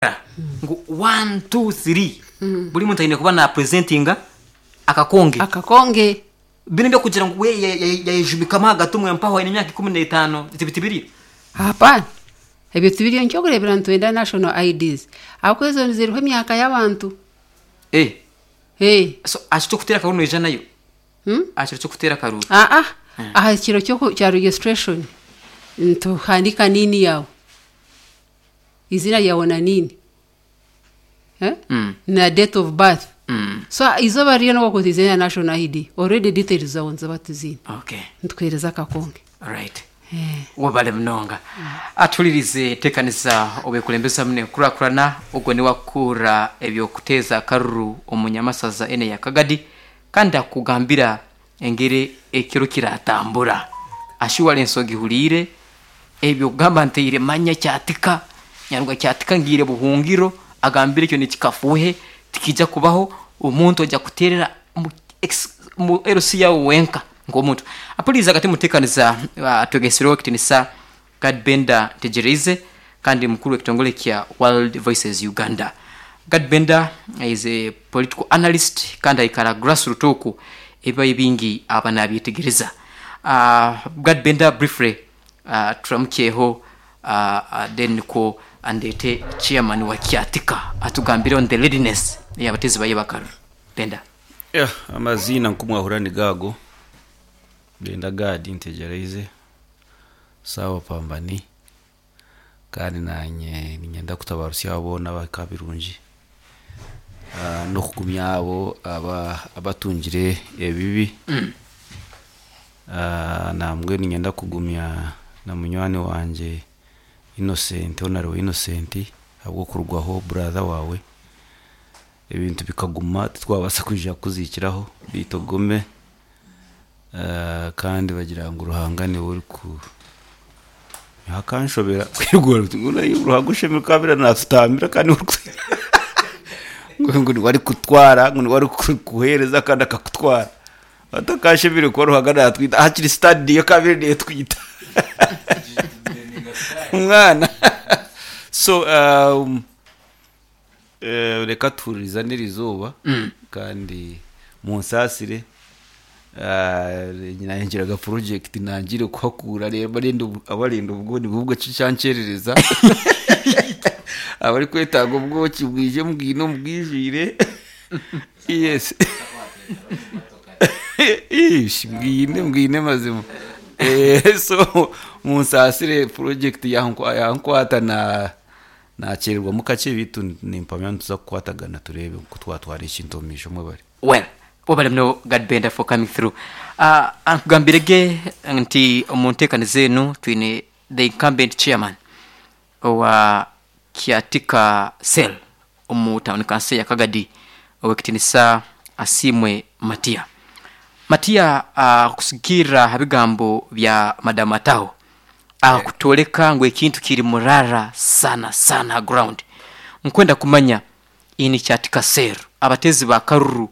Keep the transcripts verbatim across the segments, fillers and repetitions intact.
Ngu one two three buri muntu aine kuba napresentinga akakonge. Akakonge. Bino ebyokugira ngu we yayejubikamu ahagati omwe mpaho aine emyaka ikumi n'etaano tibi tibiriyo. Hapana, ebyo tibiriyo. Nikyokureebera nitwenda national I Ds ahabw'okuba ezo ziriho emyaka y'abantu. Eh, Eh, so aha kiro ky'okuteera akaruru noija nayo? Hmm? Aha kiro ky'okuteera akaruru? Aa, aha kiro ky'oku- kya registration nituhandika niini yawe, izina ryawe na niini, eh? Mm. Na date of birth. Mm. So izooba ririyo n'okuza na national I D, already details zawe niziba tuziine. Okay. Nitukuheereza akakonge. Right. Eh. Wabale munonga. Atulirize tekanisa obekulembeza mune kurakurana ogwo niwakura ebyokuteeza akaruru omunyamasaza ene ya Kagadi, kandi akugambira engeri ekiro kiratambura ashuwala ensonga ihuriire ebyo kugamba nteire manya kyatika nyaruga kyatika ngiire buhungiro, agambire ekyo nikikafuhe, tikija kubaho. Omuntu ojja kuterera mu ex- mu L C yawe wenka nk'omuntu apuliriza. Kati mutekaniza uh, twegesereho ekitinisa Gad Benda Ntegereize, kandi mukuru w'ekitongole kya World Voices Uganda. Gad Benda is a political analyst kandi aikara grassroot oku ebibayo bingi aba nabyetegereza. uh, gad Benda, briefly uh, turamukyeho, uh, uh, then niko andete chairman wa Kyatika atugambire on the readiness y'abatezi baye bakaruru. Benda. Yeah, amazina nkumwahura ni gago Benda Gadi Ntegereize sawa pambani, kandi nanye ninyenda kutabarusya abo n'abaka birungi, Ah, n'okugumya abo aba abatungire ebibi. Ah, nambwe ninyenda kugumya na munywani wanje Innocent, Honorable Innocent, ahabw'okurugwaho brother wawe, ebintu bikaguma titwabasa kwija kuzikiraho bitu ogume. Ah, kandi bagira ngu Ruhanga niwe uri ku hakanshobera kwigura Ruhanga ushemere kabira natutambira, kandi uri ku- ngo ngo niwe ari kutwara, ngo niwe ari ku- kuhereza kandi akakutwara atakashemere kuba Ruhanga natwita hakiri stade niyo kabiri niyo twita umwana. So um, eh, reka turizanire izuba kandi munsasire. Nangiraga project nangire kuhakura rero abarinda abarinda ubwo ni bubwo cyancerereza abari kwetanga ubwoki bwije mbwino mbwijire. Yes, ish mbwine mbwine mazima. Eh, so munsasire, project yankwa yankwata na nakererwa mu kace bitu nimpamya ntuza kukwatagana turebe uko twatwara ekintu omu maisho. Mwebare. Well, wabale muno Gad Benda for coming through. uh, ankugambirege nti omu nteekaniza enu twine the incumbent chairman owa Kyatika Cell omu town council ya Kagadi, owekitinisa Asimwe Matia. Matia, uh, kusigikirra ha bigambo bya Madamu Ataho akutoleka ngu ekintu kiri murara sana sana ha ground, nkwenda kumanya ini Kyatika Cell abatezi ba karuru,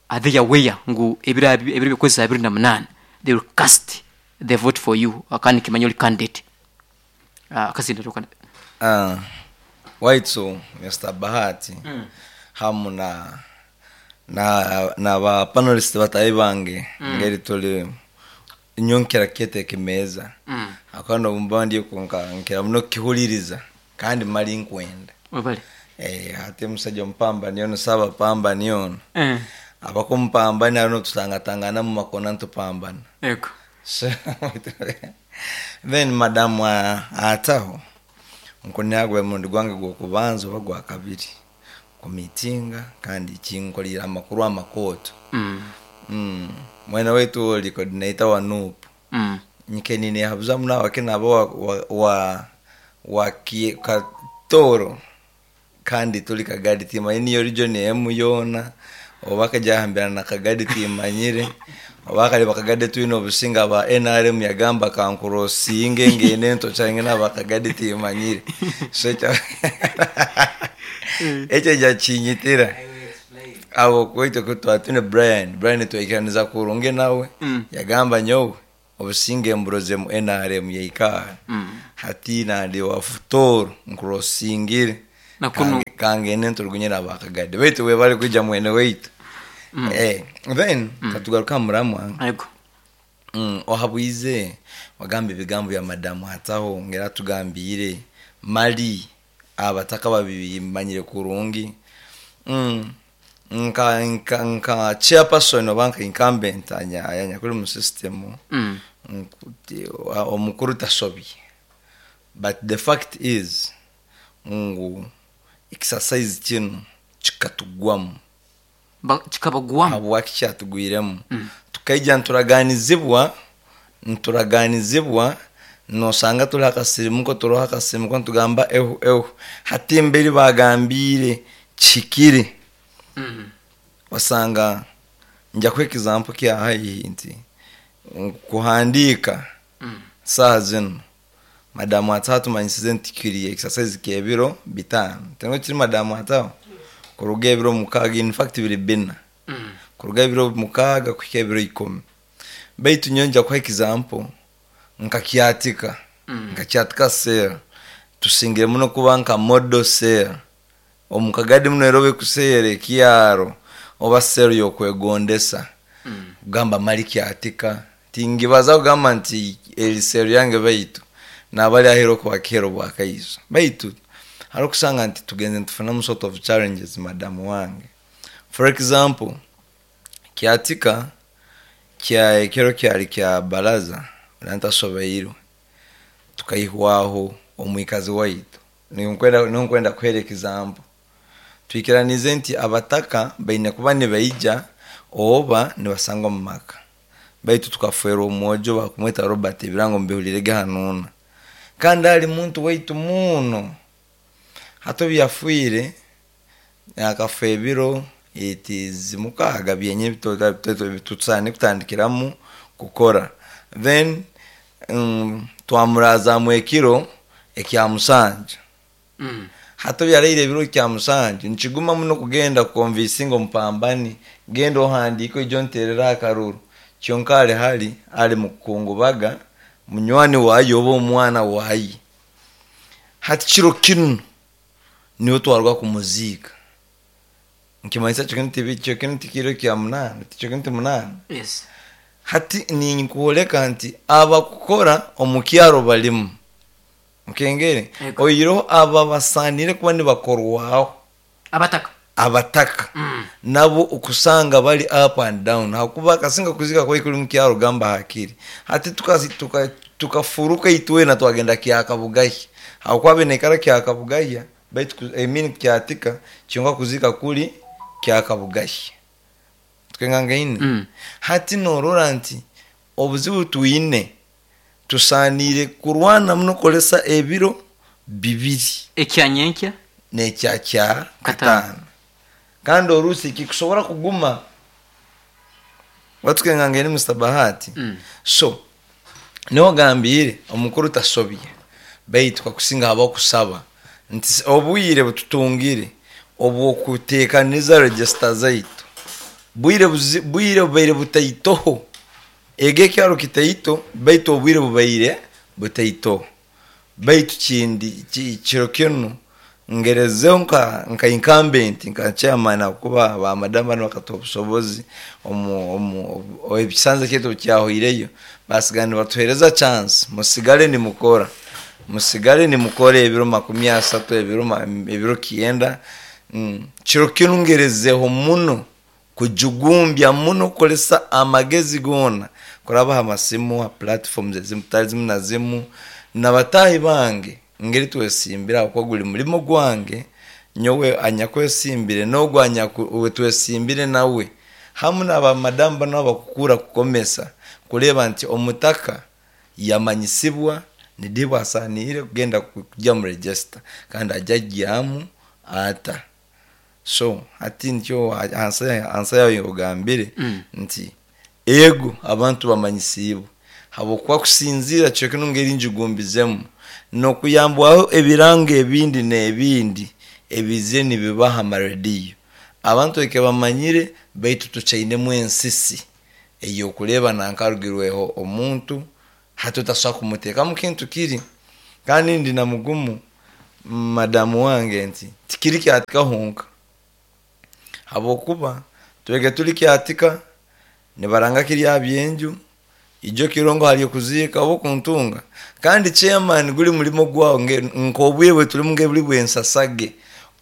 are they aware ngu ebiro ebiro byokwezi abiri na munana they will cast the vote for you, kandi kimanya oli candidate? uh, kazinda tukana. Ah, waitu Mister Bahati hamu na na na ba panelist batayi bange, ngeri tuli nyonkera kete kimeza mm. Akano bumba ndiyo kunka nkera muno kihuliriza kandi mali nkwenda. Webale. Eh, ate musajja mpamba niyono saba pamba niyono eh abakumpamba ano tutangatangana mu makona ntupambana. Ego. So, then madamu a- ataho nkunyagwe mundi gwange gwokubanza oba gwa kabiri kumitinga, kandi kinkolera amakuru amakooto. mm. mm. mwene wetu oli coordinator wa N U P. Mm. Nkenine habuza munawake nabo wa, wa, wa, wa kie- katoro kandi tuli Kagadi timanyire niyo region emu yoona oba kajahambirana na Kagadi timanyire oba kali bakagadi twine obusinga ba N R M yagamba kankurosinge ngende ntochange naba Kagadi timanyire. So ekyo ekyo jakinyitira abo kwekyo kutwatine Brian Brian twikiraniza kurunge nawe. Mm. Yagamba nyowe obusinge mburoze mu N R M yaikara Mm. hati nandi wa Futoro nkurosingire. Nakunu- Kange- kangende nturugunyira abakagadi baitu we bali kwija mwene waitu. Eh, then katugaruka muramwa. Yego. Mm, ohabwize wagamba ebigambo bya madamu hataho ngera tugambire mali abataka babimanyire kurungi. mm, nka nka nka chairperson oba nka incumbent anya anya kuri mu system. Mm. Nkuti- wa- omukuru tasobye, but the fact is ngu exercise kino kikatugwamu. Ba- kikabagwamu. Habwaki kyatugwiremu? Tukaija nturaganizibwa nturaganizibwa nosanga turi akasirimuko, turiho akasirimuko, ntugamba ehu ehu hati mberi bagambire kihikire. Mm. Wasanga nja kuha example kya haihi nti kuhandika Mm. saha zino madamu ataho tumanyisize nti kiri exercise kebiro bitano tengo kiri madamu ataho kuruga ebiro mukaaga, in fact biri bina. Mm. Kuruga ebiro mukaaga kuhika ebiro ikumi, baitu nyo nja kuha example nkakyatika. Mm. Nkakyatika sera tusingire muno kuba nka model sera omukagadi muno erobe kuseera ekyaro oba sero yokwegondesa. Mm. Kugamba mali kyatika tingibaza kugamba nti eri sero yange, baitu nabali ahero kwakero bwakaiso, baitu hari okusanga nti tugenze ntufunamu sort of challenges madamu wange. For example, kyatika kya ekero kyali kya baraza nantasobeirwe tukaihwaho omwikazi waitu. Ninkwenda ninkwenda kuhera example twikiranize nti abataka baine kuba nibaija oba nibasangwa mu maka, baitu tukafwerwa omwojo bakumweta Robert, ebirango mbihulirege hanuuna, kandi ali muntu waitu muno. Hati obu yafwire akafa ebiro etizi mukaaga byenye tusaane kutandikiramu kukora, then mm, twamurazamu ekiro ekya musanja. Mm. Hati obyaraire ebiro kya musanju nikiguma muno kugenda kukonvinsinga omupambani, genda ohandiike oije onterere akaruru, kyonka ali hali ali mukukungubaga munywani waye oba omwana waye. Hati kiro kinu niwe twaruga kumuziika, nkimanyisa kyo kintu kyo kintu kiro kya munaana kyo kintu munaana. Yes. Hati ninkuoleka nti abakukora omu kyaro balimu nkengere. Ego. Oiroho aba basanire kuba nibakorwaho. Abataka. Abataka. Mm. Nabo okusanga bali up and down hakuba akasinga kuzika kwai kuri mukyaro gamba hakiri hati tukafuruka tuka, tukafuruka itwena twagenda kyakabugahya hakuba nekara kyakabugahya baitu ku- I mean kyatika kyonka kuzika kuri kyakabugahya twengangaine. Mm. Hati norora nti obuzibu twine tusanire kurwana muno kukolesa ebiro bibiri. Ekyanyenkya. Nekyakya Kataano. kataano, kandi orusi kikusobora kuguma watukengangene Mr Bahati. Mm. So niho gambire omukuru tasobye, baitu kakusinga haba kusaba nti s- obwire bututungire obwokuteekaniza register zaitu bwire buzi- bwire bubaire butaitoho ego ekyaro kitaito, baitu obwire bubaire butaitoho, baitu kindi ki- kiro kinu ngerezeho nka nka incumbent nka chairman akuba ba madam bano bakatuha obusobozi omu omu o- ebisanze kyaitu kyahoireyo basigara nibatuhereza chance, musigale nimukora musigale nimukora ebiro makumi asatu ebiro ma- ebiro kienda. mm. kiro kinu ngerezeho muno kujugumbya muno kukolesa amagezi gona kurabaha amasimu ha platforms ezimu tali zimu na zimu nabatahi bange ngeri twesimbira kuko guli mulimo gwange nyowe anyakwesimbire n'ogwo anyaku- twesimbire nawe hamu n'abamadamu bano abakukura kukomesa kureba nti omutaka yamanyisibwa nidibwa asanire kugenda kujya mu register kandi ajya ajyamu ata. So hati nikyo ansa ansa yayo ogambire Mm. nti ego abantu bamanyisibwe habwokuba kusinzira kyo kino ngeri njugumbizemu nokuyambwaho ebirango ebindi n'ebindi ebize nibibaha amarediyo abantu eke bamanyire, baitu tuchainemu ensisi eyokureba nankarugirweho omuntu hati otasobola kumuteekamu kintu kiri kandi ndi na mugumu. Madamu wange nti tikiri kyatika honka, habwokuba twege tuli kyatika nibaranga kirya byenju ijo kirongo hali okuziika oba okuntunga. Kandi chairman guli mulimo gwawo nk'obwebwe tuli nge buli bwensasage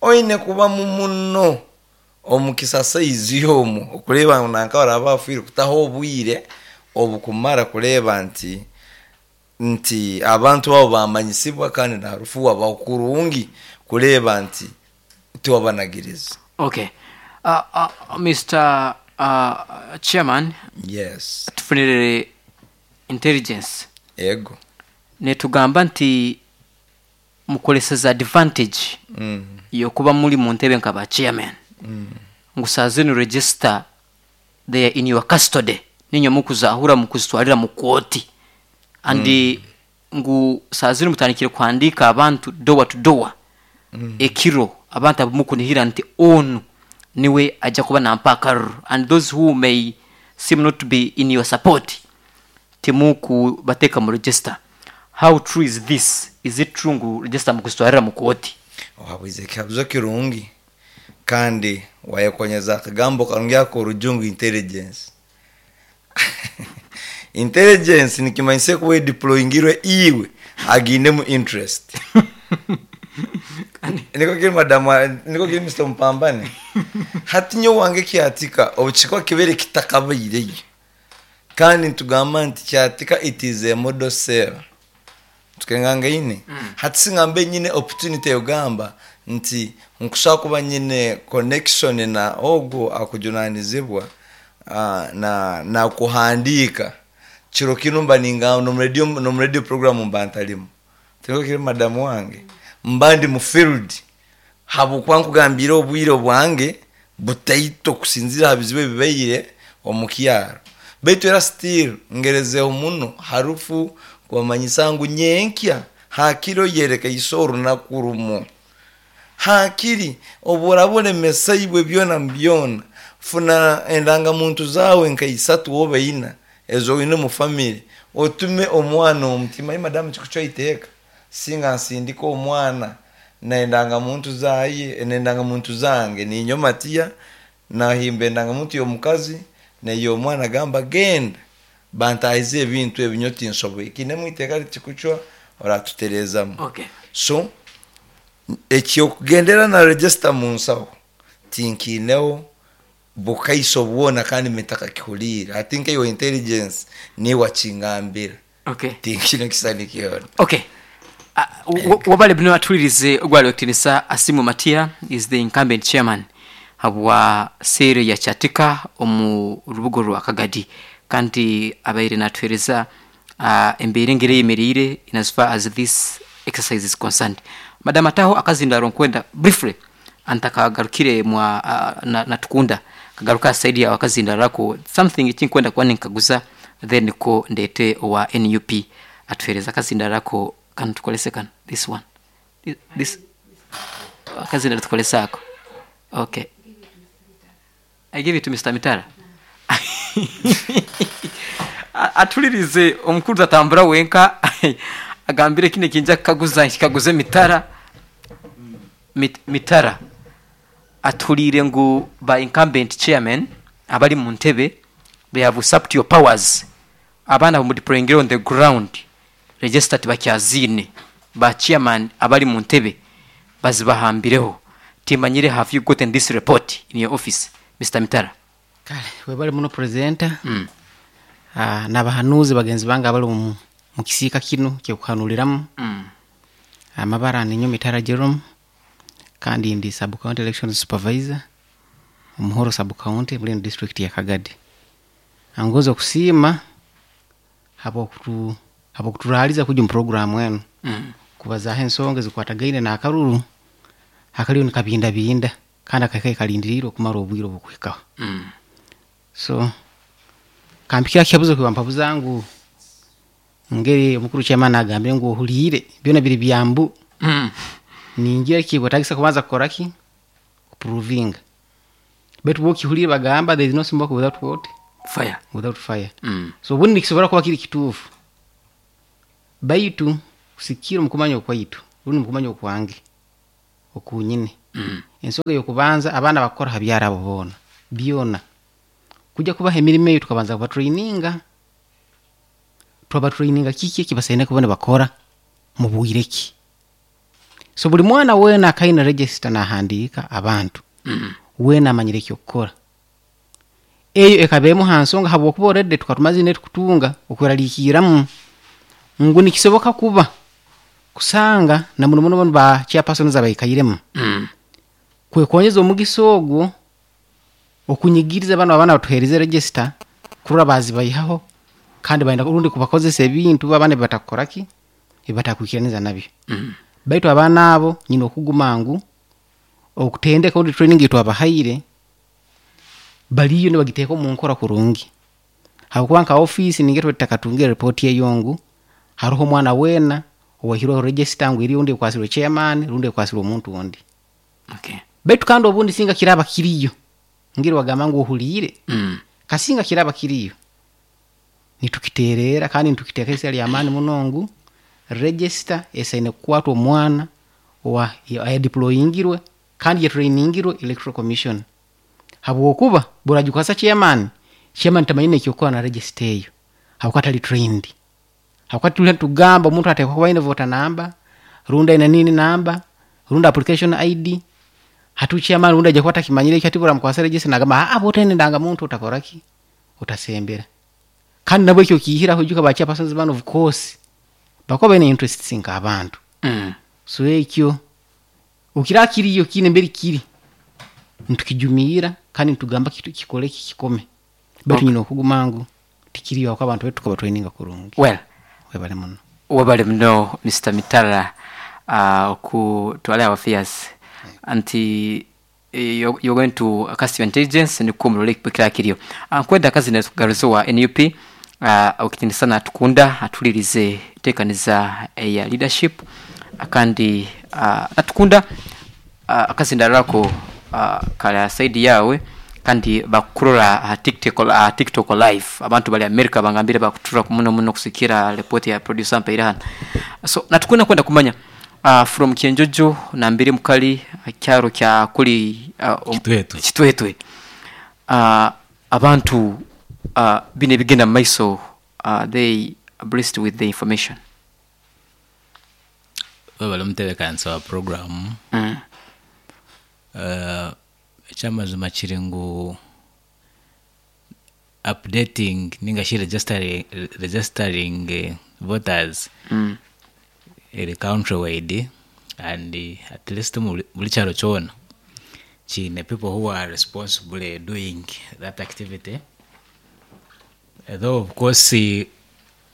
oine kuba muno omukisasa izi omu okureba nanka baraba bafiire kutaho obwire obukumara kureba nti nti abantu abo bamanyisibwa kandi na harufu wabaho kurungi kureba nti tiwabanagiriza. Okay. Uh, uh, Mister uh, Chairman, yes, tufunirire intelligence ego netugamba nti mukoleseza advantage mm. yokuba muri mu ntebe nka ba chairman mm. ngusaze ni register they are in your custody ninyo mukuzahura mukuzitwarira mu koti and mm. ngu sazini mutandikire kuhandika abantu door to door mm. ekiro abantu abamukunihira nti onu niwe ajja kuba nampa akaruru and those who may seem not to be in your support timuku bateka mu register. How true is this? Is it true ngu register mukuzitwarira mu koti? Wabuze kabuzo kirungi kandi wayekonyeza akagambo karungi ako orujungu intelligence. Intelligence nikimanyise kuba deployingirwe iwe agine mu interest. Niko kiri madamu, niko kiri Mister Mpambane. Hati nyo wange kyatika obuchikwa kibere kitakabaire. Kandi ntugamba nti kyatika it is a model cell. Tukenganga ine. Mm. Hati singambe nyine opportunity yogamba nti nkushaka kuba nyine connection na ogo akujunanizibwa uh, na na kuhandika chiro kino mba ninga no radio no radio program mba ntalimu. Tingo kiri madamu wange mbandi mu field habukwa nkugambira obwire bwange butaito kusinzira habizibe bibeire omukyaro. Baitu era still ngerezeho muno harufu kwamanyisa ngu nyenkya hakiro yereka isoro nakurumo hakiri oburabone mesaibwe byona mbyona funa endanga muntu zawe nka isatu wobe ina ezo ine mu family otume omwana omutima. Madamu chikucho iteka singa nsindika omwana na endanga muntu zaye endanga muntu zange ni nyomatia na himbe endanga muntu yomukazi neyo omwana gamba genda bantaize ebintu ebinyoti nsoboye kine mwiteka chikucho oratuterezamu. Okay. So ekyo kugendera na register mu nsawo tinkineho bukaiso bwona kandi metaka kihulira. I think your intelligence ni wachingambira. Okay. Tinkino kisanikiona. Okay. Uh, wabale bino atulirize ogwali okitinisa Asimu Matia is the incumbent chairman habwa sere ya Kyatika omu rubugo rwa Kagadi kandi abaire natwereza uh, embeere ngere yemerire in as far as this exercise is concerned. Madam Ataho akazindaro nkwenda briefly antakagarukire mwa uh, na, natukunda kagaruka side ya wakazindarako something chinkwenda kwani nkaguza then ko ndete wa N U P atwereza akazindarako kan tukolese kan this one this akazindaro tukolesa ako. Okay, I give it to Mister Mitara. Atulirize omukuru tatambura wenka agambire kine kinja kaguza kikaguze Mitara. Mit, Mitara atulire ngu ba incumbent chairman abali mu ntebe they have usurped your powers abana mu deploying on the ground register tibakyazine ba chairman abali mu ntebe bazibahambireho. Timanyire, have you gotten this report in your office, Mister Mitara? Kale webali muno presenter. Mm. Ah, n'abahanuzi bagenzi bange abali mu mukisiika kino kyekuhanuliramu. Mm. Amabara ninyo Mitara Jerome kandi ndi sub county election supervisor Omuhoro sub county muri district ya Kagadi. Angoza okusiima habo kutu habo kuturaliza kuja mu program eno. Mm. Kubazaho ensonga zikwatagaine n'akaruru akaliyo nikabinda binda kandi akakaye kalindirirwe okumara obwire obukuhikaho. Mm. So kampikira kibuzo kwa mpavu zangu ngeri omukuru chairman agambire ngu ohulire byona biri byambu. Mm. Ningira kibwetagisa kubanza kukora ki kuprovinga betu bo kihulire bagamba there is no smoke without what fire without fire. Mm. So ubundi kisobora kuba kiri kituufu baitu kusikira mukumanya okwaitu ubundi mukumanya okwange Okunyine ensonga yokubanza, abaana bakukora ha byaro abo boona byona kujya kubaha emirimo eyo, tukabanza kubatraininga, twabatraininga kiki ekibasaine kuba nibakora mu bwire ki. So buli mwana weena akaine register nahandiika abantu weena amanyire ekyokukora. Eyo ekaba emu ha nsonga, habwokuba already tukaba tumazire tukutunga okweraliikiramu ngu nikisoboka kuba kusanga na muno muno banu ba chairpersons abaikairemu Mm. kwekonyeza omugisa ogwo okunyigiriza bano abaana batuheereze register kurora bazibayihaho, kandi baenda rundi kubakozesa ebintu abaana ebibatakukoraki, ebibatakwikiraniza nabyo. Mm. Baitu abaana abo nyina okuguma ngu okutendeka rundi training etwabahaire baliyo nibagiteeka omu nkora kurungi, habwokuba nka ofiisi ninga itwe tutakatungire report eyo ngu haroho omwana weena owaihirweho register ngu eri rundi ekwasirwe chairman rundi ekwasirwe omuntu ondi. Okay. Baitu kandi obundi singa kiraba kiriyo, ngiri wagamba ngu ohuliire, Mm. kasinga kiraba kiriyo nitukiteerera kandi nitukiteeka isira ly'amaani muno ngu register esaine kukwatwa omwana owa ayadeployingirwe kandi yatrainingirwe Electoral Commission, habwokuba buragikwasa chairman, chairman tamanyine ekyokukora na register eyo habwokuba atali trained. Habwokuba tuli tugamba omuntu ateekwa kuba aine voter number rundi aine nini number rundi application I D. Hatu chairman rundi aja kuba atakimanyire ekyo, ati buramukwasa register nagamba, "Ah, botaine ndangamuntu utakoraki, utasembera." Kandi nabwo ekyo kiihiraho, ijuka ba chairpersons bano of course bakuba baine interests nk'abantu. Mm. So ekyo okira kiriyo kiine mberi kiri nitukijumiira kandi nitugamba kitu kikole ki kikome, baitu Okay. nyina okuguma ngu tikiriyo habwokuba abantu betu tukabatraininga kurungi. Well, webale muno. Webale muno Mister Mitala uh, okutwala our fears anti eh, you're, you're going to cast your intelligence nikwo mulole kira kiriyo. uh, nkwenda akazi netugaruzo wa N U P uh, okitinisa tukunda atulirize tekaniza eya leadership, kandi uh, natukunda uh, akazindarako uh, kala side yawe kandi bakurora uh, TikTok, uh, TikTok live. Abantu bali America bangambire bakutura muno muno kusikira report ya producer mpaire hano. So natukunda kwenda kumanya uh, from Kyenjojo nambiri mukali uh, kyaro kya kuli uh, um, Kitwetwe. Kitwetwe, uh, abantu uh, bino ebigenda mu maiso, uh, they are blessed with the information? Webale omutebekanisa wa program. mm. uh, ekyamazima kiri ngu updating ninga shi registering, registering eh, voters Mm. eri countrywide and eh, at least mu buli kyaro kyona kiine people who are responsible doing that activity, though of course eh,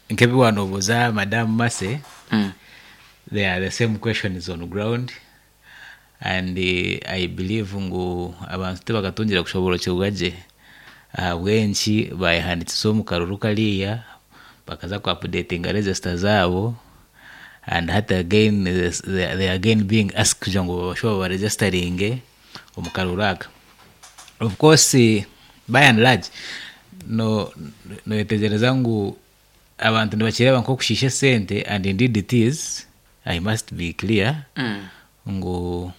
nk'ebiwanobuuza Madam Mase, Mm. they are the same questions on ground and uh, I believe ngu abantu tibakatungira kushoborokyerwa gye ahabw'enki bayehandikisa omu karuru kariya bakaza ku updatinga register zaabo, and hati again they, they are again being asked kugira ngu babashe baregisteringe omu karuru aka. Of course eh, by and large no noyetegereza ngu abantu nibakireba nk'okushiisha esente, and indeed it is. I must be clear Mm. ngu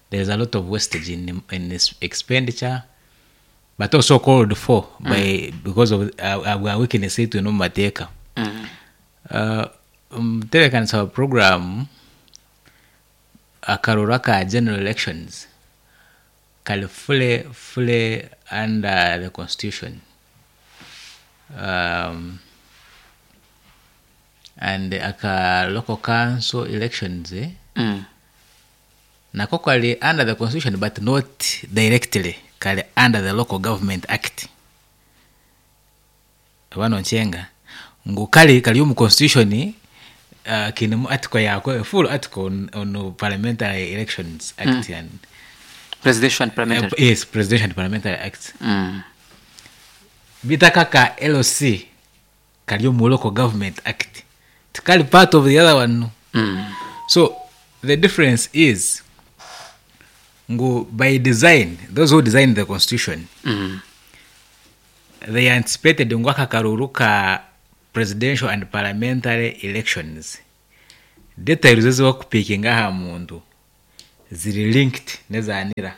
there is a lot of wastage in, in this expenditure, but also called for by because of uh, uh, weakness yaitu eno mu mateeka. Mm. uh, omutebeekanisa wa program, akaruru aka general elections kali fully fully under the constitution, um, and aka local council elections eh, Mm. nako kali under the constitution, but not directly, kali under the Local Government Act. Bano nkyenga ngu kali kali omu constitution, uh, kinemu article yako, full article on, on Parliamentary Elections Act mm. and Presidential and parliamentary. uh, yes, Presidential and Parliamentary Act. Mm. Bitaka ka L C kali omu Local Government Act, tikali part of the other one. Mm. So the difference is ngu by design, those who designed the constitution, Mm. they anticipated ngu aka karuru ka presidential and parliamentary elections, details ezibakupikinga aha muntu. ziri linked n'eza NIRA.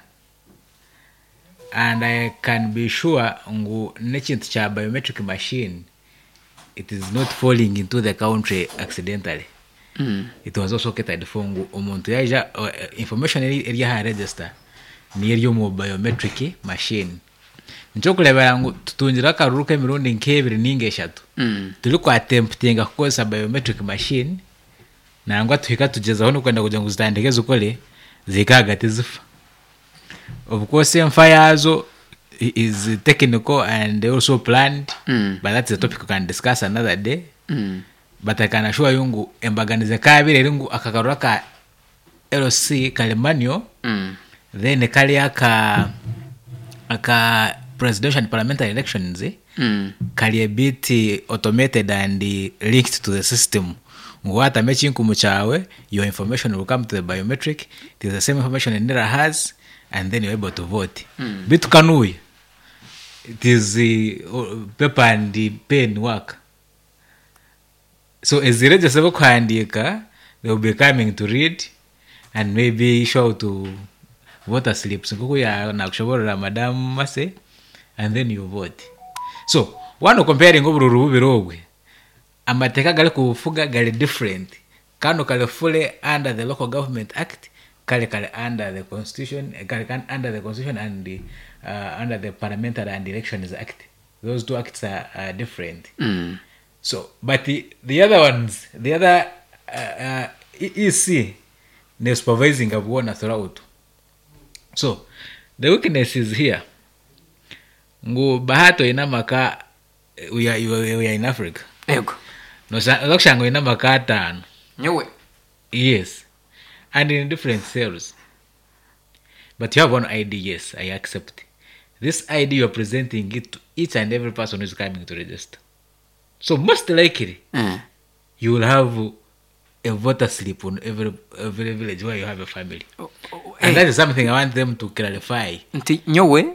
And I can be sure ngu n'ekintu kya biometric machine, it is not falling into the country accidentally. Mm. It was also catered for ngu omuntu yaija uh, information eri eri aha register niyo eri omu biometric machine. Nikyokureebera ngu tutungire akaruru k'emirundi nk'ebiri ninga eshatu Mm. turi kwattemptinga kukozesa biometric machine, nangwa tuhika tugyezaho n'okwenda kugira ngu zitandike zikore, zihika ahagati zifa. Of course enfa yaazo i- is technical and also planned, Mm. but that's a topic we can discuss another day. Mm. But I can assure you ngu embaganize kabiri eri ngu akakarura ka L C kali manual, Mm. then kali aka aka presidential and parliamentary elections, eh, Mm. kali a bit automated and linked to the system, ngu watama ekinkumu kyawe, your information will come to the biometric. It is the same information NIRA has, and then you're able to vote. Mm. Bitu kanuya it is uh, paper and pen work. So eziregister bokuhandiika, they will be coming to read and maybe show to voter slips nkuku ya nakushoborera Madam Mase, and then you vote. So wano comparing obururu bubiri obwe, amateeka gari kubufuga gari different. Kano kali fully under the Local Government Act, kale kali under the constitution, kali kali under the constitution and the, uh, under the Parliamentary and Elections Act. Those two acts are, are different. Mm. So but the, the other ones, the other uh, uh, E C ne supervising abuona throughout. So the weakness is here ngu Bahati oyine amaka, we are, we are in Africa. Ego. Nokushanga oyine amaka ataano. Nyowe? Yes, and in different cells, but you have one I D. Yes, I accept this I D. You are presenting it to each and every person who is coming to register, so most likely Mm. you will have a voter slip on every every village where you have a family. Oh, oh, And eh. that is something I want them to clarify. Nti nyowe,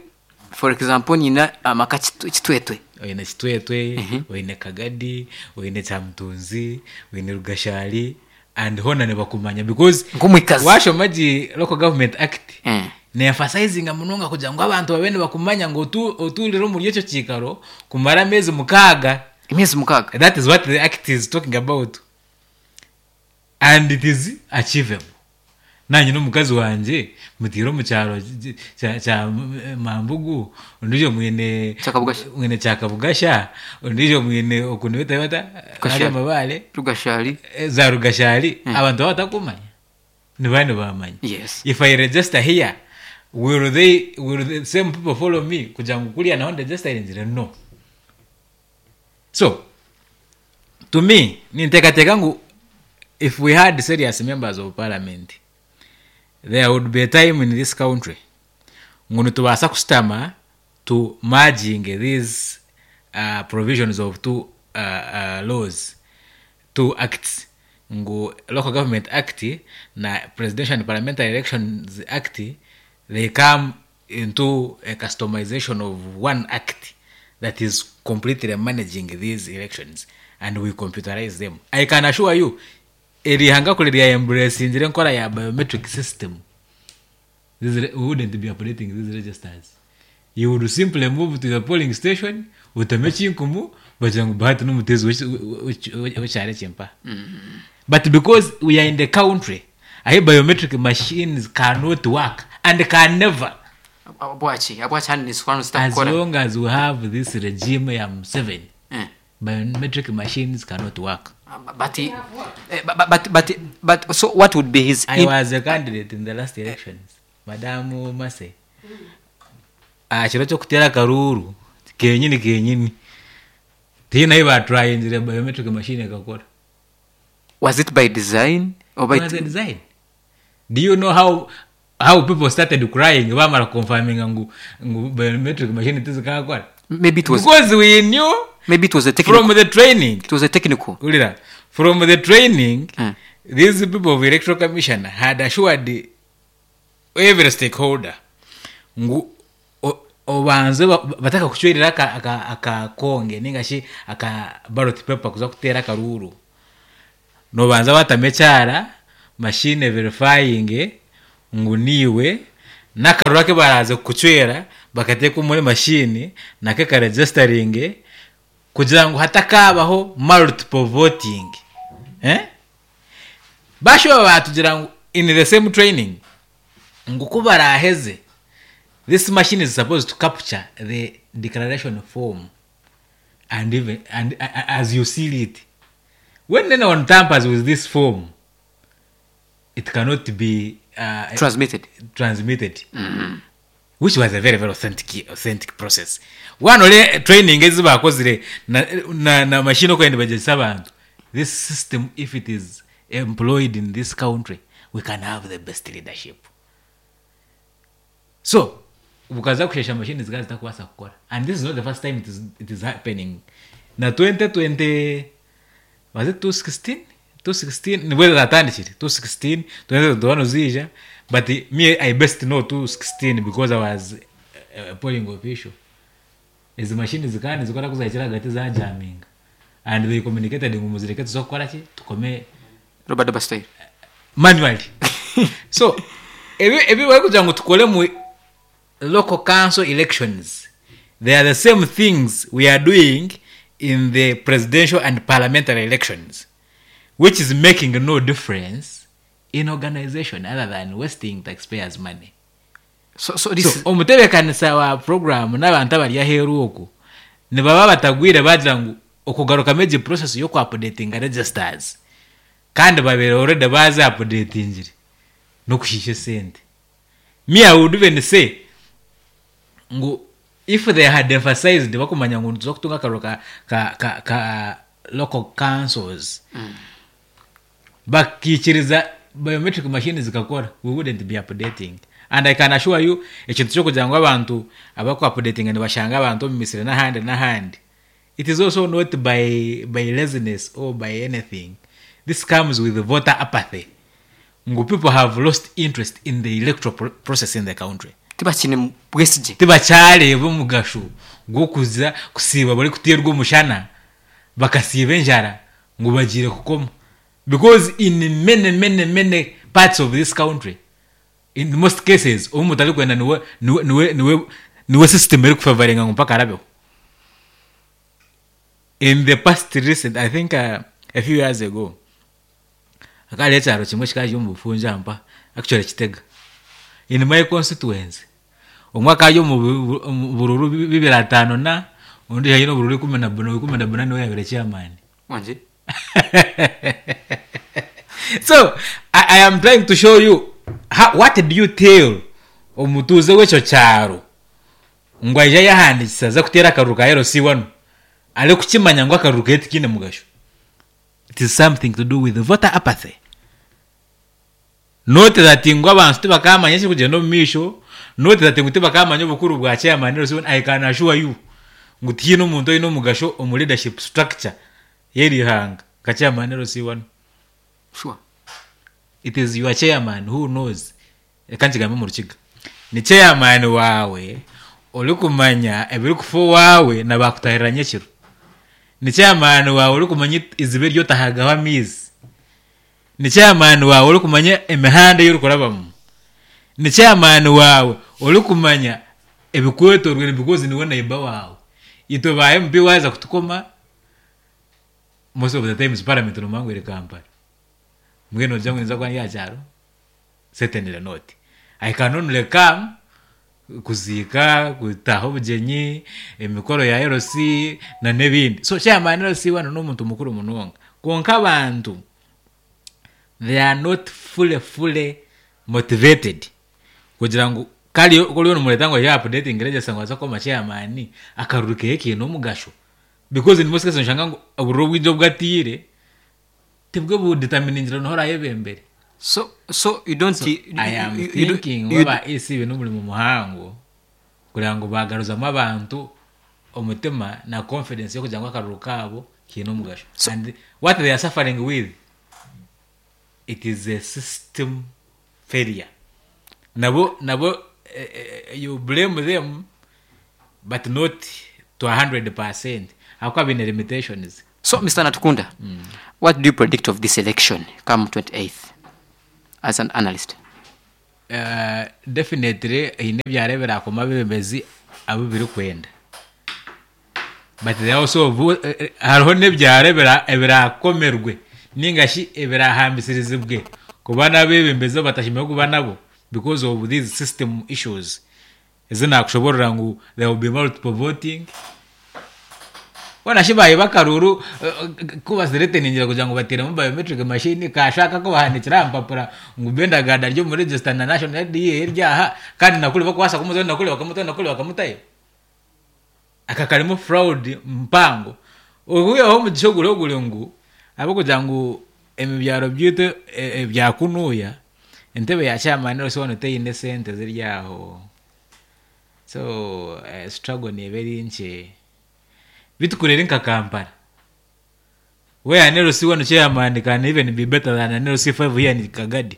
for example, nyina amaka Kitu- kitwetwe Oine Kitwetwe, oine Kagadi, oine Kyamutunzi, oine Rugashari, and hona nibakumanya because Nk'omwikazi. washoma gi Local Government Act, Mm. ne-emphasizinga munonga kugira ngu abantu babe nibakumanya ngu otu- otuurire omuri ekyo kiikaro kumara ameezi mukaaga. Emyezi mukaaga. That is what the act is talking about, and it is achievable. Nanye n'omukazi wangye mutiire omu kyaro kya- kya Mambugu, ondiijo mwine Kyakabugasha. Mwine Kyakabugasha, ondiijo mwine okuntu beta bata Rugashari. hari amabare. Rugashari. Eh, za Rugashari. Abantu baba batakumanya nibani bamanya. Yes. If I register here, will they will the same people follow me kugira ngu kuriya naho ndegistaringire? No. So to me, ninteekateeka ngu if we had serious members of parliament, there would be a time in this country ngu nitubaasa kusitama to merging these uh, provisions of two uh, uh, laws, two acts, ngu Local Government Act na Presidential and Parliamentary Elections Act, they come into a customization of one act that is completely managing these elections, and we computerize them. I can assure you, erihanga kure rya embracingire enkora ya biometric system, this re- we wouldn't be operating these registers. You would simply move to the polling station, utame ekinkumu, bagira ngu Bahati n'omuteezi w'ekyaro ekyempa. But because we are in the country ahi biometric machines cannot work and can never. Bwaki abwaki handi nisikwano As zitakukora? long as we have this regime ya Museveni, Eh. biometric machines cannot work. But, eh, but, but, but, but so what would be his I in- was a candidate in the last elections, Madamu Mase. Ah, kiro kyokutera akaruru kenyini kenyini, tiina ahi batrayingire biometric machine ekakora. Was it by design or by It was a design. Do you know how how people started crying bamara confirming ngu ngu biometric machine tizikakora? Maybe it was Because we knew maybe it was a technical from the training. It was a technical Ulira, from the training, Mm. these people of Electoral Commission had assured every stakeholder ngu o- obanze ba- bataka kucwerera aka- aka- akakonge ningashi aka ballot paper kuza kuteera akaruru, nobanza batama ekyara machine verifying. Ngu niiwe n'akaruru ake baraza kukucwera bakateeka omuri mashini nako karegisteringe kugira ngu hatakabaho multiple voting. Eh? Bashoba batugira ngu in the same training ngu ku baraheze, this machine is supposed to capture the declaration form and even and uh, as you seal it. When anyone tampers with this form, it cannot be uh, transmitted. Transmitted, which was a very very authentic authentic process. Wano le training ezi bakozire na, na, na machine okwenda bagyesa abantu. This system, if it is employed in this country, we can have the best leadership. So bukaza kushesha machine zikaza zitakubaasa kukora, and this is not the first time it is, it is happening. Na twenty twenty, was it twenty sixteen? twenty sixteen nibwo zatandikire, twenty sixteen, twenty twenty-one zija, but me, I best know twenty sixteen because I was a polling official. Izi machine zikaba nizikora kuzahikira hagati zajaminga, and they communicated ngu muzireke tuza kukora ki tukome Robert Bastille manually. So ebi ebi bari kugira ngu tukore mu local council elections, they are the same things we are doing in the presidential and parliamentary elections, which is making no difference in organization other than wasting taxpayers' money. so, so this So is, omutebekanisa wa program n'abantu abari aheeru okwo nibaba batagwire bagira ngu okugarukamu egi process y'okuupdatinga registers, kandi babere already bazi updatingire n'okushiisha esente. Me, I would even say ngu if they had emphasized bakumanya ngu nituza kutunga akaruru ka, ka, ka, ka local councils mm. bakikiriza biometric machine zikakora, we wouldn't be updating. And I can assure you, ekintu kyokugira ngu abantu abaku updating nibashanga abantu omu misiri n'ahandi n'ahandi, it is also not by, by laziness or by anything. This comes with voter apathy, ngu people have lost interest in the electoral pro process in the country. Tibakine bwesigye. Tibakyareeba omugasho gw'okuza kusiiba bari kuteerwa omushana bakasiiba enjara ngu bagiire kukoma, because in many many many parts of this country, in most cases, obu mutarikwenda niwe niwe niwe niwe niwe system erikufavoringa ngu mpaka arabeho. In the past recent, I think uh, a few years ago, akari ekyaro kimwe kikaba omu bufunja mpa, actually Kitega in my constituency, omwe akari omu bu- omu bururu bibiri ataano na ondi aine obururu ikumi na buna ikumi na buna niwe yabire chairman. Wanje. So I, I am trying to show you how, what do you tell omutuuze w'ekyo kyaro ngu aija yahandikisa aza kuteera akaruru ka L C wano arikukimanya ngu akaruru ketu tikiine mugasho. It is something to do with voter apathy, not that ngu abantu tibakamanya ekirikugyenda omu maisho, not that ngu tibakamanya obukuru bwa chairman L C one. I can assure you ngu tihiine omuntu oine omugasho omu leadership structure y'eri ihanga nka chairman L C one. Sure. It is your chairman who knows. Reka nkigambe mu Rukiga, ni chairman wawe orikumanya ebirikufa owawe na bakutahirira nyekiro, ni chairman wawe orikumanya iziba eryotahagaho amaizi, ni chairman wawe orikumanya emihanda ey'orikurabamu, ni chairman wawe orikumanya ebikwetorwire, because niwe neighbor wawe. Itwe ba M P waza kutukoma, most of the times parliament nomanya ngu eri Kampala, mbwenu ogira ngu ninza kuba ndi aha kyaro? Certainly not. I can only come kuziika, kutaha obugyenyi, emikoro ya L C na n'ebindi. So chairman L C wano n'omuntu mukuru munonga, kwonka abantu they are not fully fully motivated kugira ngu kari koriyo nomureta ngu aije updating register ngu aze kukoma chairman akaruru keye kiine omugasho, because in most cases noshanga ngu obururu obwingi obwatiire tibwo budeterminingira noha orayebembere. So so you don't So, you, I am you, you, thinking you, waba E C n'omurimo muhango kugira ngu bagaruzamu abantu omutima na confidence yokugira ngu akaruru kaabo kiine omugasho. So- and what they are suffering with, it is a system failure. Nabo nabo eh, eh, you blame them, but not to a hundred percent, hakuba bine limitations. So Mister Natukunda, what do you predict of this election come twenty-eighth as an analyst? Uh, definitely haine ebyaro ebirakoma abebembezi abu birikwenda, but they also vo- eh, eh, hariho n'ebyaro ebira- ebirakomerwe ninga shi ebirahambisirizibwe kuba n'abebembezi abu kuba nabo because of these system issues ezi nakushoborora ngu there will be multiple voting. Bona shi bayiba akaruru, kubasireteningira kugira ngu bateremu biometric machine, kashaka ko bahandikira aha mpapura ngu bendaganda ryo muri register na national I D eryaha, kandi nakuri bakwasa kumuzayo, nakuri bakamutayo, nakuri bakamutayo. Aka karimu fraud mpango. Ohuyeho omugisha oguri oguri ngu ahabw'okugira ngu emibyaro byaitu ebyakunuuya entebe ya chairman rwose wano teyine sente ziri aho, so eh, struggle neeba eri nkye. Bitukurere nka Kampala where an L C one chairman can even be better than an L C five here in Kagadi.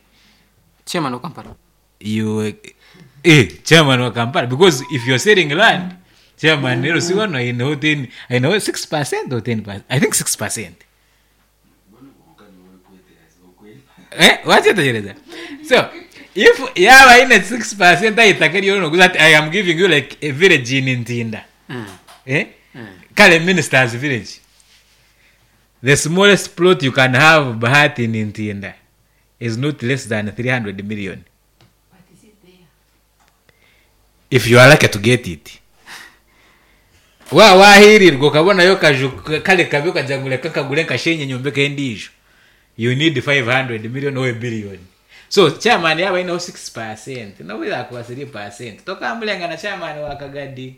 Chairman wa Kampala, you eh chairman wa Kampala, because if you're selling land, chairman L C one I know ten, I know six percent or ten percent, I think six percent. Eh, wakyetegereza. So if yaba aine six percent ayitaka eryo noguza ati I am giving you like a village in Ntinda. mm. Eh? Kale minister's village. The smallest plot you can have Bahati in Ntinda is not less than three hundred million. If you are lucky to get it. Wa wahirirwa ukabonayo kaju kale kabi ukagira ngu reka kagure nkashenye nyombeke endiijo. You need five hundred million or a billion. So chairman yaba aineho six percent, nobu three percent. Tokambulenga na chairman wa Kagadi.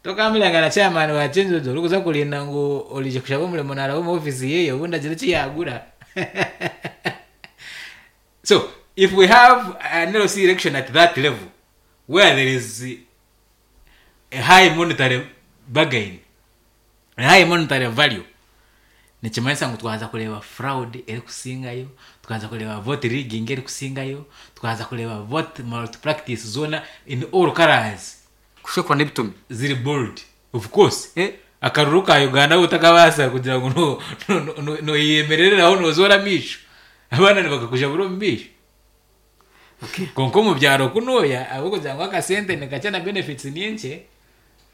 Tokambulenga na chairman wa Chinjojo orikuza kurinda ngu orije kushaba omurimo naraba omu office yeye obundi agire eki yagura. So if we have an L C election at that level where there is a high monetary bargain, a high monetary value, nikimanyisa ngu twaza kureeba fraud erikusingayo, twaza kureeba vote rigging erikusingayo, twaza kureeba vote malpractice zoona in all colors. Kushekura n'ebitumi ziri bold, of course. Eh. Akaruru ka Uganda utakabaasa kugira ngu no- no- no- noyemerereraho nozoora amaisho, abaana nibakakujabura omu maisho. Okay. Konka omu byaro kunuuya ahabw'okugira ngu akasente nikakye na benefits ni nkye,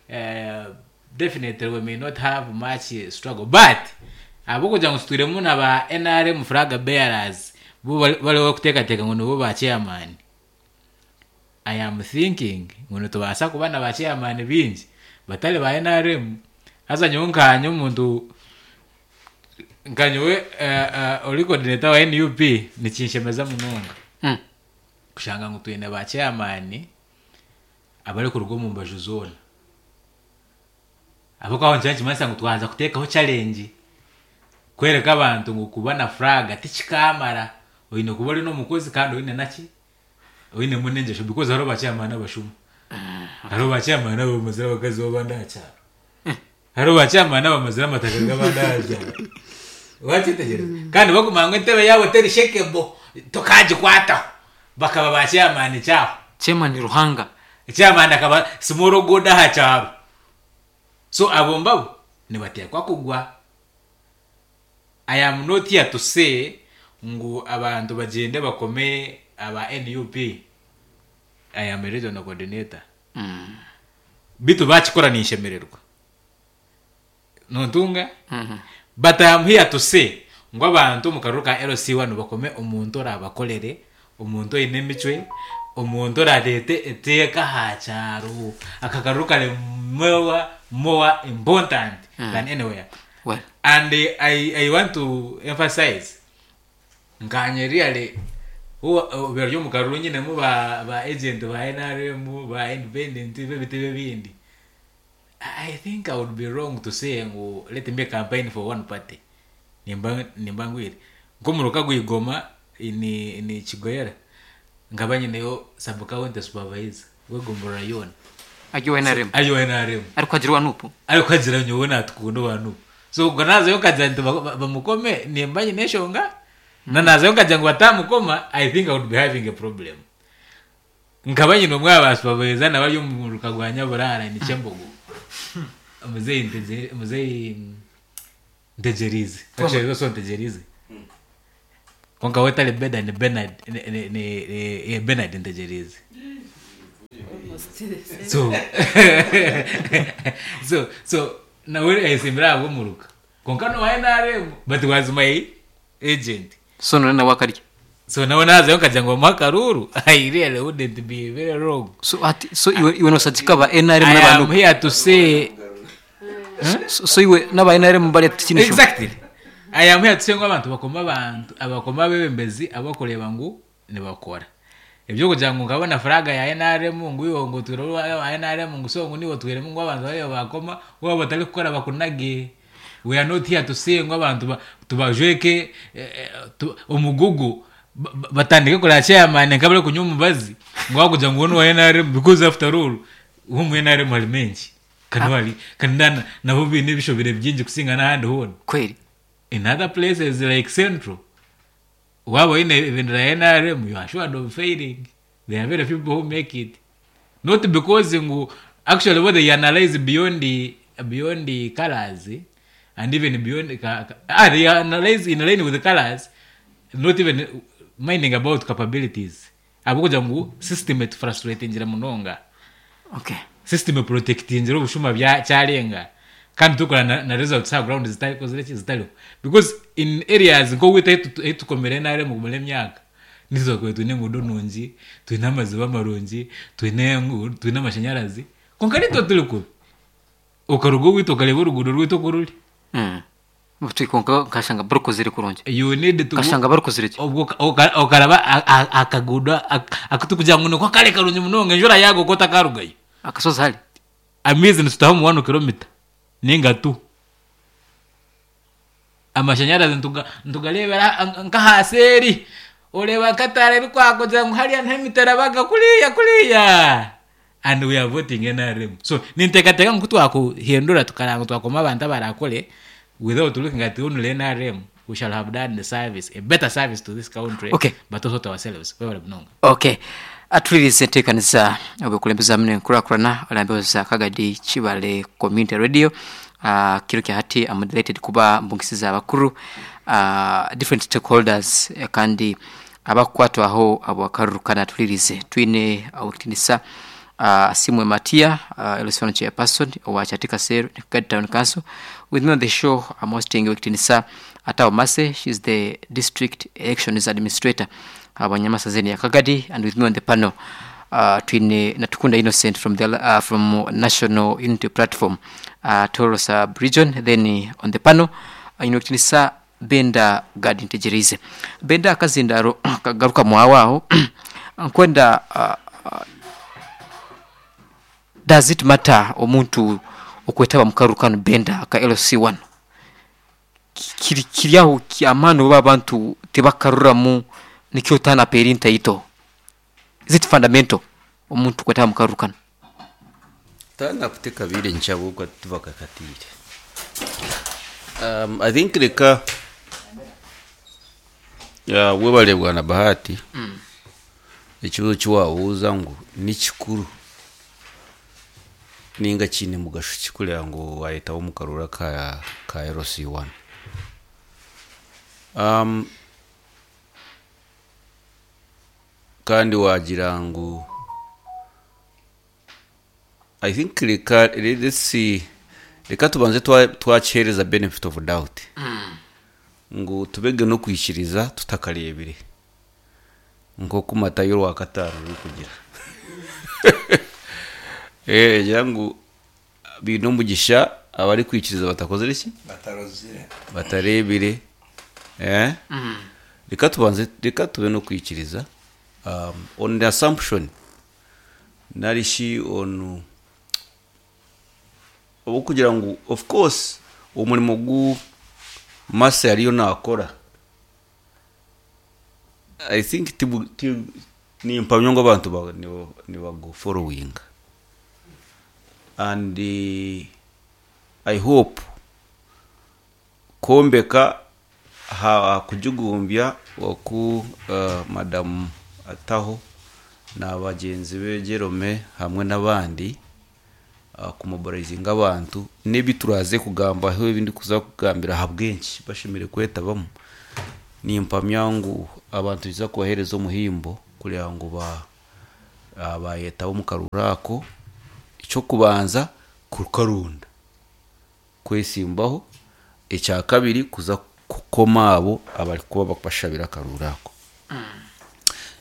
eh, definitely we may not have much struggle, but ahabw'okugira ngu tutwiremu na ba N R M flag bearers bo bari-, bariho kuteekateeka ngu nibo ba chairman. I am thinking ngu nitubaasa kuba na ba chairman bingi batari ba N R M. Haza nyowe nkanye omuntu nkanyowe, eh, eh, ori coordinator wa N U P nikinshemeza munonga. Mm. Kushanga ngu twine ba chairman abarikuruga omu mbaju zoona. Ahabw'okuba aho nikyo nikimanyisa ngu twaza kuteekaho challenge kwereka abantu ngu kuba na flag tikikamara, oine kuba ori n'omukozi kandi oine naki oinemu n'engyesho, because hariho ba chairman abashuma, hariho ba chairman abamazire abakazi b'abandi aha kyaro, hariho ba chairman abamazire amataka g'abandi aha kyaro. Wakyetegereza? Kandi baguma ngu entebe yaabo teri shekebo tokagikwataho, bakaba ba chairman kyaho. Chairman Ruhanga. Chairman akaba small god aha kyaro. So abo mbabo nibateekwa kugwa. I am not here to say ngu abantu bagyende bakome aba N U P. I am a regional coordinator. Mm. Bitu bakikora ninshemererwa. Nontunga? Mm-hmm. But I am here to say ngu abantu omu karuru ka L C one bakome omuntu orabakorere, omuntu oine emicwe, omuntu orareete eteeka aha kyaro. Aka karuru kari more, more important Mm. than anywhere. Well. And I, I want to emphasize nkanye really biro ryo mu karuru nyine mu ba, ba agent ba N R M, ba independent b'ebitebe bindi. I think I would be wrong to say ngu let me campaign for one party. Nimba, nimba ngwire. Nko muruka gwigoma ni, ni Kigoyera. Nkaba nyineyo sub county supervisor wegomborora yona. Agiwe N R M. Agiwe N R M. Ariko agirwa nupu. Ariko agira nyowe natukunda bantu. So ubwo nazayo nkagira nti ba-, ba-, bamukome nimba nyine eshonga. Na nazayo nkagira ngo batamukoma, I think I would be having a problem. Nkaba nyine umwe wa supervisor nawe ari mu ruka rwa Nyaburara ni Kyembogo. Muzeyi Ntege-, Muzeyi Ntegerize. Actually, so Ntegerize. Konka we tali Benda ni Bernard ni, ni, ni, ni Bernard Ntegereze. So so so nawe ayesimbira ahabw'omuruka konka nowa N R M, but was my agent. So none nawe akarya. So nawe nazayo nkagira ngo bamuhe akaruru. I really wouldn't be very wrong. So ati so iwe iwe nosagika ba N R M I am n'abantu here to say so, so iwe n'aba N R M bari tikinisho. Exactly, I am here to say ngu abantu bakoma, abantu abakoma abebembezi abakureba ngu nibakora ebyo kugira ngu nkabona furaga ya N R M ngu iwe ngu twire wa N R M ngu so ngu niwe twiremu ngu abantu bariyo bakoma waba batari kukora bakunage. We are not here to say ngu abantu ba- tubajweke eh, eh, tu- omugugu ba- ba- batandike kureba chairman nkabari kunywa omubazi ngu wakugira ngu wa N R M, because after all uwo N R M hari menshi kandi hari kandi na- nabo bine ebishobere byingi kusinga n'ahandi hona. Kweli. In other places like Central, waba ine ebendera ya N R M, you are assured of failing. There are very few people who make it. Not because ngu actually what they analyze beyond the beyond the colors, eh, and even beyond the, ka- ka- ah, they analyze in line with the colors, not even minding about capabilities. Abakugira ngu system frustrating munonga. Okay. System protecting obushuma bya kyarenga kandi tukora na, na results ha ground zitari zitari zitariho, because in areas nko wita etukomere nare mu kumara emyaka nizo kwe twine engudo nungi, twine amaziba amarungi, twine engu- twine amashanyarazi, konka nitwe turi kubi okaruga owaitu okareba oruguudo rwaitu oku ruri. Mm. Twikonka nkashanga barukozire kurungi. You need to Kashanga barukozire ki? Obwo oka- okaraba a- a- akagudo ak- akutukugira ngu niko kare karungi munonga, enjura yago kotakarugayo. Akasozi hari. Amaizi nitutaho mu one kilomita ninga tu amashanyarazi ntuga- ntugarebera nk'ahasi eri oreba nkatara erikwakugira ngu hariya niho emitarabaga kuriya kuriya, and we are voting N R M. So ninteekateeka ngu twakuhindura tukaranga twakoma abantu abarakore without looking at only N R M, we shall have done the service, a better service to this country, Okay. but also to ourselves. Webale munonga. Okay, atulirize enteekaniza obwekulembeza muno enkulakulana olambeoza Kagadi Kibale Community Radio. uh, kiro kya hati I'm delighted kuba mbungisiza abakuru, uh, different stakeholders, eh, kandi abakukwatwaho abo akarurukana. Tulirize twine owekitinisa uh, Simwe Matia, uh, L C one chairperson owa Kyateeka Cell Kagadi Town Council. With me on the show I'm hosting owekitinisa Atao Mase. She's the district elections administrator abanyamasazeni ya Kagadi, and with me on the panel uh, twine Natukunda Innocent from the uh, from National Unity Platform, uh, Toro sub region. Then uh, on the panel uh, inokitinisa Benda Gadi Ntegerize Benda akazindaro kagaruka mwawaho nkwenda uh, uh, does it matter omuntu okwetaba mukarukano Benda aka L C one kiri kiri aho ki- amaani oba abantu tebakaruramu nikyo tana perinta ito? Is it fundamental omuntu kwetaba mukarukano? Tana kutekabire nchabukwa tubakakatire. um, i think reka ya webale bwana Bahati mm. Ekibuzo kiwabuuza ngu nikikuru ninga kiine mugasho kikureba ngu wayetaho omu karura ka, ka L C one. um, kandi wagira ngu I think reka, let's see, reka tubanze twa- twakihereza benefit of doubt ngu tubege no kwikiriza tutakarebire nkoku Matayo rwa katano ruri kugira eh ngira ngu biine omugisha abari kwikiriza batakozire ki? Batarozire. Batarebire. eh reka tubanze, reka tube no kwikiriza um, on the assumption narishi on obu kugira ngu of course omurimo gu mase ariyo nakora, I think tibu, tibu, nimpamya ngu abantu ba- niba- nibagufollowinga and uh, I hope kwombeka ha kujugumbya oku uh, madamu Ataho na bagenzi be Jerome hamwe n'abandi uh, kumobilizinga abantu n'ebi turaze kugambaho ebindi kuza kugambira aha bwenki bashemere kwetabamu. Nimpamya ngu abantu niza kubahereza omuhimbo kureba ngu ba ah, bayetaho omu karuru ako. Ekyokubanza, kukarunda kwesimbaho. Ekya kabiri, kuza kukoma abo abarikuba bashabira akaruru ako.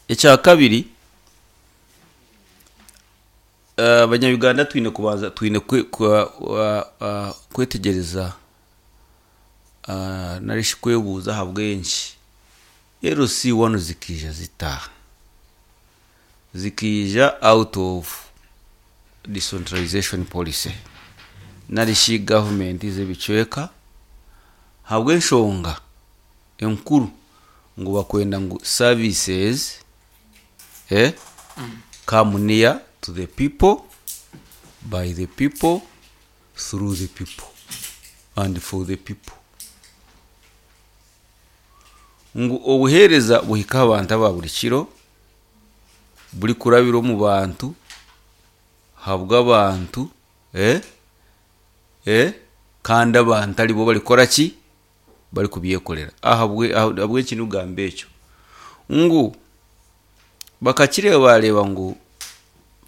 Ekya kabiri, eh, abanyayuganda twine kubanza twine kwe- kwa- wa- ah, kwetegereza ah, narishi kwebuuza ahabw'enki L C one zikiija zitaaha, zikiija out of decentralization policy narishi gavumenti z'ebicweka, habw'enshonga enkuru ngu bakwenda ngu services eh, come near to the people, by the people, through the people and for the people, ngu obuheereza buhika abantu aba buri kiro, buri kurabira omu bantu, habw'abantu, eh, eh, kandi abantu aribo barikora ki? Bari kubyekorera. Ahabwe ahabw'eki nugamba ekyo ngu bakakireba bareba ngu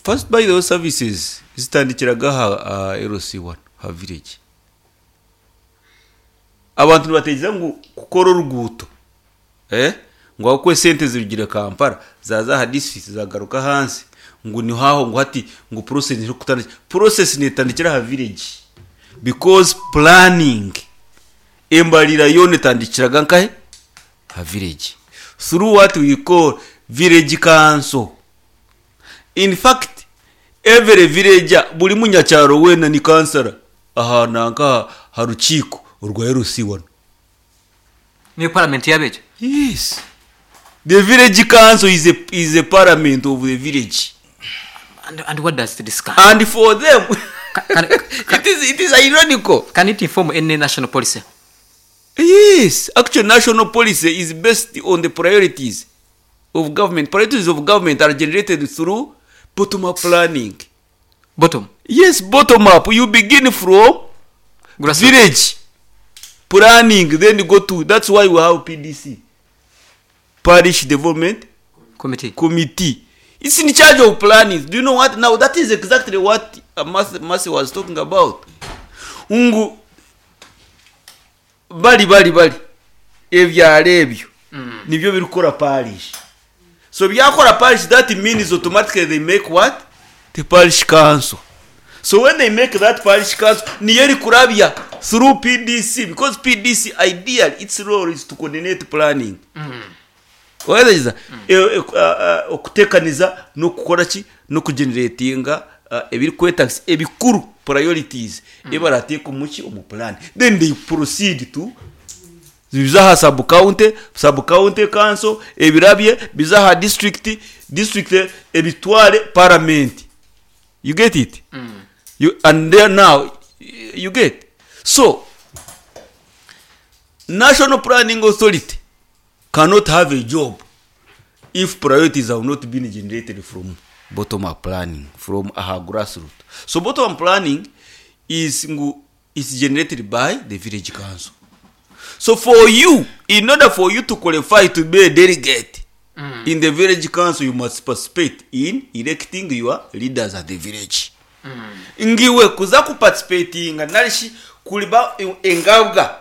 first, by the way, services zitandikiraga aha aha L C one, ha village. Abantu nibatekereza ngu kukora oruguuto, eh ngu aho sente zirugire Kampala, zaza aha district, zagaruka ahansi, ngu niho aho ngu hati ngu process iri kutandika. Process netandikira aha village because planning, embarira yona etandikiraga nkahe? Ha village, through what we call village council. In fact, every villager, buri munyacyaro wena ni kansara aha nanka ha rukiiko orwa L C one. Niyo parliament yabejo? Yes, the village council is a, is a parliament of the village. and, and what does it discuss? And for them, can, it is, it is ironical. Can it inform any national policy? Yes, actually, national policy is based on the priorities of government. Priorities of government are generated through bottom up planning. Bottom? Yes, bottom up. You begin from Grassroots. Village planning, then you go to, that's why we have P D C, parish development committee. Committee. It's in charge of planning. Do you know what? Now that is exactly what uh, Mercy, Mercy was talking about, ngu bali bali bali ebyalo ebyo nibyo birikukora parish. So byakora parish, that means automatically they make what? The parish council. So when they make that parish council, niyo eri kurabya through P D C, because P D C, ideally, its role is to coordinate planning. Ohereza okutekaniza n'okukora ki? N'okugeneratinga ebirikwetagisa ebikuru, priorities ebarateeka omuki? Omu plan. Then they proceed to biza aha sub county, sub county council ebirabye biza aha district, district ebitware parliament. You get it? You, and then now you get. So National Planning Authority cannot have a job if priorities have not been generated from bottom up planning, from our grassroots. So bottom up planning is ngu is generated by the village council. So for you, in order for you to qualify to be a delegate mm. in the village council, you must participate in electing your leaders at the village. mm. Ngiwe kuza kuparticipatinga narishi kuliba engabwa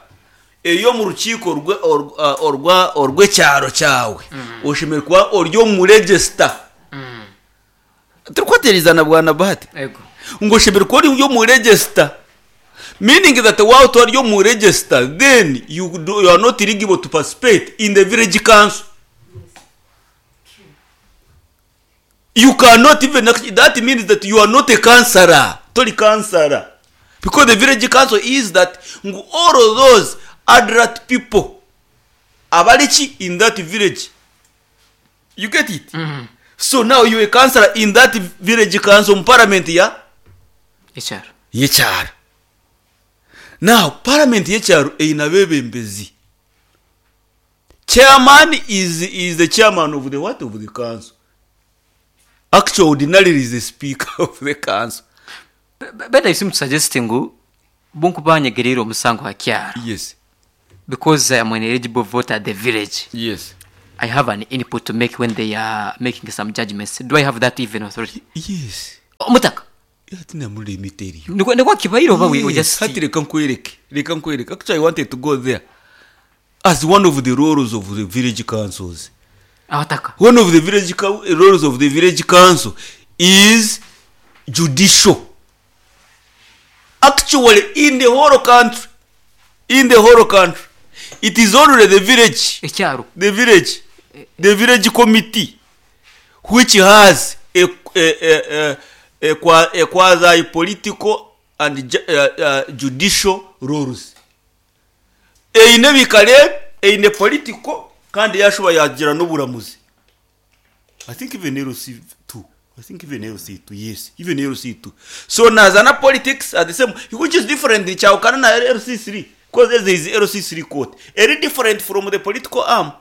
eyo mu rukiiko orwe- orwa- orwa- orw'ekyaro kyawe, oshemereire kuba ori omu register. Turikwaterizana, bwana Bahati? Ego. Ngo oshemereire kuba ori omu register, meaning that while ori omu register, then you, do, you are not eligible to participate in the village council. You cannot even act- that means that you are not a councillor, tori councillor, because the village council is that ngu all of those adult people abariki in that village. You get it? mm. So now you a councillor in that village council mu parliament ya ekyaro. Yekyaro. Now parliament yekyaro eyina abebembezi. Chairman is, is the chairman of the what? Of the council. Actually, ordinarily is the speaker of the council. Beda isimu suggest ngu bunkubanyegerera omusango ha kyaro. Yes. Because I am an eligible voter at the village, Yes. I have an input to make when they are making some judgments. Do I have that even authority? Yes. Omutaka, Hati namuri let me tell you. nikwo nikwo kibaire oba we we Yes, just hati reka nkwereke, reka nkwereke. Actually, I wanted to go there as one of the roles of the village councils. Abataka. One of the village cou- roles of the village council is judicial. Actually, in the whole country, in the whole country, it is only the village, Ekyaro. the village, the village committee, which has a, a, a, a, a, qua- a quasi political and ju- uh, uh, judicial roles. Eine bikare, eine political, kandi yashuba yagira n'uburamuzi. I think even L C two. I think even L C two, yes. Even L C two. So nazana politics are the same, which is different in Chaukana na L C three. Because there is L C three court. Very different from the political arm.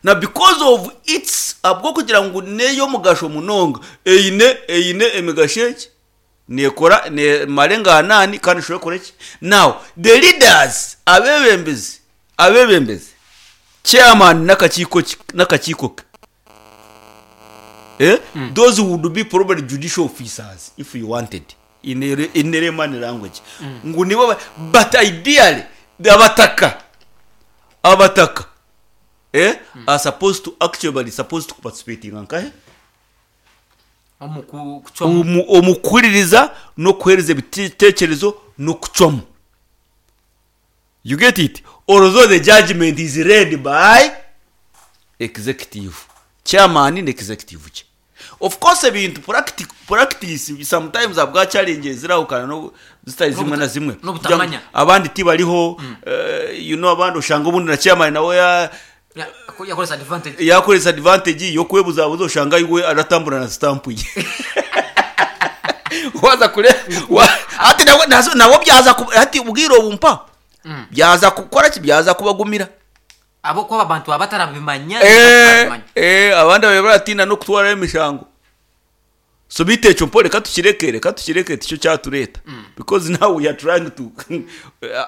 Now because of its abwo kugira ngo neyo mugasho munonga eine eine emigasho eki nekora ne marenga anani kandi ushobora kora iki. Now the leaders, abebembezi abebembezi chairman n'akakiiko ki- n'akakiiko ke, eh? mm. those would be probably judicial officers if you wanted in a, in a layman language mm. Ngo nibo ba- but ideally the abataka abataka eh? mm. are supposed to actually supposed to participate in nkahe Omu ku- kucwamu. Omu- omukuhuririza n'okuhereza ebitekerezo n'okucwamu. You get it? Although the judgment is read by executive chairman ne executive kye. Of course ebintu practic- practice sometimes abwa challenges zirahukana no zitari zimwe na zimwe. N'obutamanya. Abandi tibariho, eh, you know abandi ushanga ubundi na chairman nawe ya Ya- yakoresa advantage. Yakoresa advantage yo kwebuzabuza, ushanga iwe aratambura na stamp ye waza kure wa- ati nawe nazo- nabo byaza ku- ati ubwiro bumpa byaza gukora ki, byaza kubagumira. Abo kuba abantu abatarabimanya. eh Batabimanya. eh abandi babe baratinda no kutwara emishango. So bitecho mpo reka tukireke, reka tukireke ticyo cyatureta, because now we are trying to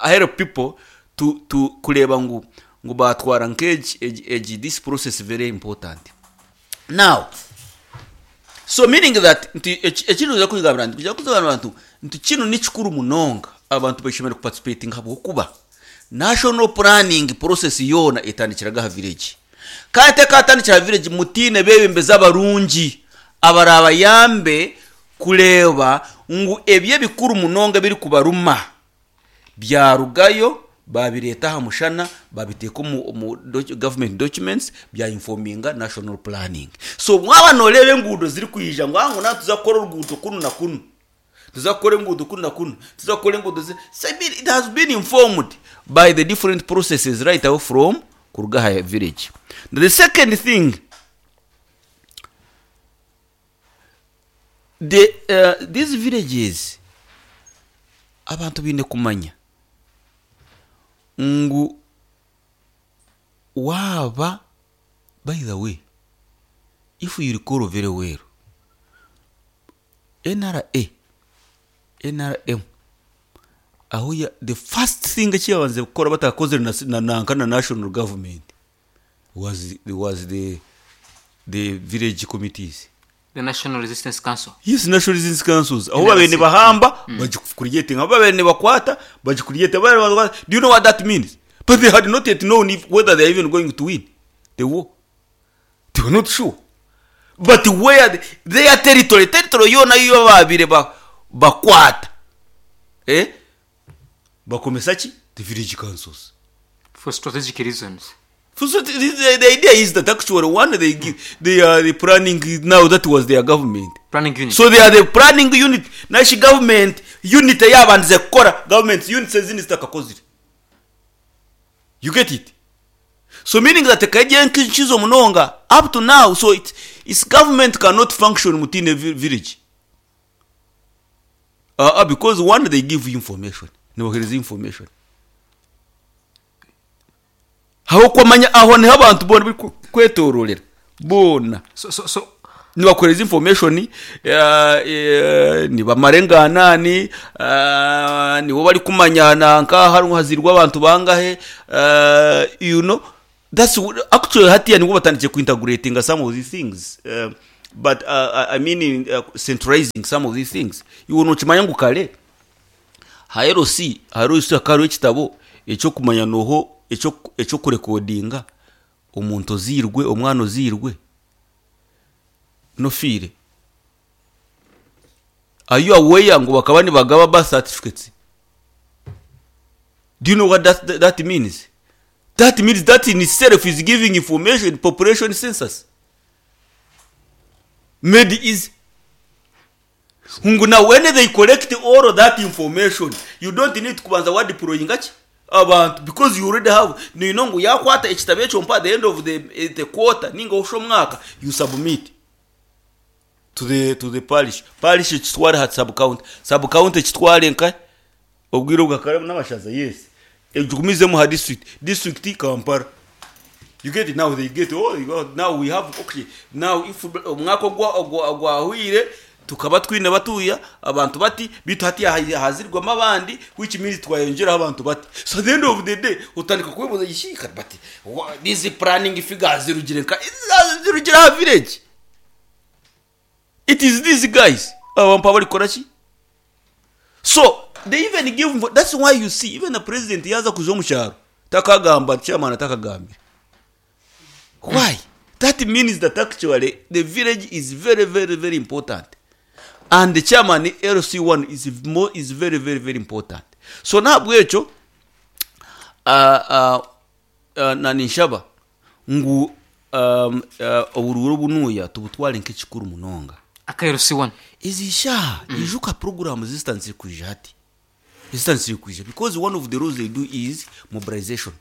help people to to kureba ngo ngo batwara nkeji egi, egi this process very important now. So meaning that nti ekintu uza kugambira nti kujya kuzabana abantu nti kino ni kikuru munonga, abantu bashobora kuparticipating habwokuba national planning process yona etandikiraga ha village, kandi tekatandikira ha village mutine bebembeza abarungi abarabayambe kureba ngu ebyo ebikuru munonga biri kubaruma byarugayo babireta aha mushana, babiteeka omu, omu docu- government documents bya informinga national planning. So mwaba noreba enguudo ziri kwija ngu aho na tuza kukora oruguuto kunu na kunu, tuza kukora enguudo kunu na kunu, tuza kukora enguudo zi- so I mean, it has been informed by the different processes right away from kuruga aha village. The second thing, the uh, these villages, abantu baine kumanya ngu waaba, by the way, if you recall very well, N R A N R M aho ya the first thing ekiyabanze kukora batakozere na, na, nanka na national government was, was the, the village committees. The National Resistance Council. Yes, national resistance councils, aho N R C. babene bahamba bagicreating, aho babene bakwata bagicreate. Do you know what that means? But they had not yet known if, whether they are even going to win the war. They were not sure, but where the, their territory territory yona yo babire ba bakwata, eh bakomesa ki the village councils. For strategic reasons. So the, the, the idea is that actually one, they give they are the planning now, that was their government Planning unit. So they are the planning unit nashi government unit yabanze kukora government units ezindi zitakakozire. You get it? So meaning that kaija nkizo munonga up to now, so it, its government cannot function mutine vi- village uh, uh, because one, they give you information, nibahereza information aho kwamanya aho niho abantu bona bari ku- kwetororera bona. so, so, so Nibakuhereza information, eh, eh, nibamara enganani, eh, nibo barikumanya nanka hariho hazirwa abantu bangahe, eh, you know that's what- actually hatiya nibwo batandikiye kuintegratinga some of these things, uh, but uh, I mean uh, centralizing some of these things. Iwe nokimanya ngu kare ha L C hariho hakaba hariho ekitabo ekyokumanya noho ekyo- ekyokurekodinga omuntu oziirwe, omwana oziirwe nofiire. Are you aware ngu bakaba nibagaba birth certificates? Do you know what that, that, that means? That means that in itself is giving information, population census made easy. Ngu now when they collect all of that information, you don't need kubanza wadeployinga ki abantu, because you already have. Nino ngu yakwata ekitabo ekyo mpa at the end of the, eh, the quarter ninga osho omwaka, you submit to the to the parish. Parish ekitware ha sub county, sub county ekitware nka obwire bwakare n'amashaza, yes, egumizemu ha district, district Kampala. You get it? Now they get, oh, you go, now we have, okay, now if omwaka ogwa ogwa- ogwahwire tukaba twine batuya abantu bati bitu hati hazirwamo abandi, which means twayongeraho abantu bati. So at the end of the day utandika kubibuza yishika bati wa- these planning figures zirugire nka zirugire ha village. It is these guys abantu barikora ki. So they even give, that's why you see even the president yaza kuja omu kyaro takagamba chairman, atakagambira. Why? That means that actually the village is very, very, very important, and the chairman L C one is more is very, very, very important. So ntabwo ekyo uh, uh, uh, naninshaba ngu um, uh, obururu bunuya tubutware nk'ekikuru munonga. Aka L C one. Izisha mm. Ijuka program zitanditse kuja hati, zitanditse kuja, because one of the roles they do is mobilization,